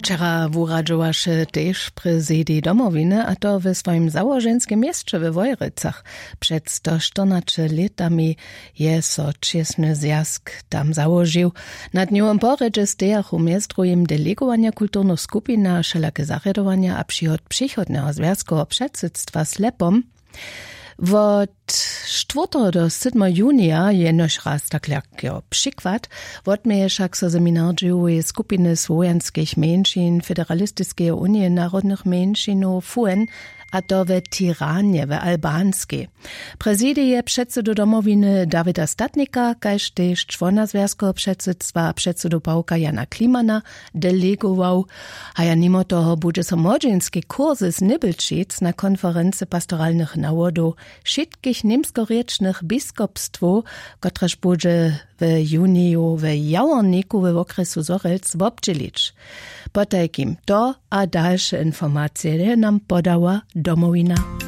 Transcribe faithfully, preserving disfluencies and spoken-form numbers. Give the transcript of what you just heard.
Wčera wuradźowaše tež prezidij Domowiny, a to w swojim załoženskim měsće we Wojricach. Před stoštyrnaće lětami je so čěsny zwjazk tam załožił. Nad njołom porjedźe stejachu mjez druhim delegowanja kulturnych skupin a wšelake zarjadowanja a přihod přichodneho zwjazkoweho předsydstwa slepom. Wot štwórteho do sydmeho junija jenož raz tak jako přikład wotměje wšak so seminardźěłoweje skupiny słowjanskich mjeńšin federalistiskeje unije narodnych mjeńšinow fuen, a to w tiranje w albanskej. Prezidij je předsedu Domowiny Dawida Statnika kaž tež čłona zwjazkeho předsydstwa a předsedu pawka Jana Klimana delegował. A ja nimo toho budźe so młodźinski kursys Nibelčic na konferency pastoralnych nawodow wšitkich němskorěčnych biskopstwow, kotrež budźe w juniju w jaworniku we wokrjesu Zhorjelc wobdźělić. Potajkim to a dalše informacije je nam podała Domowina.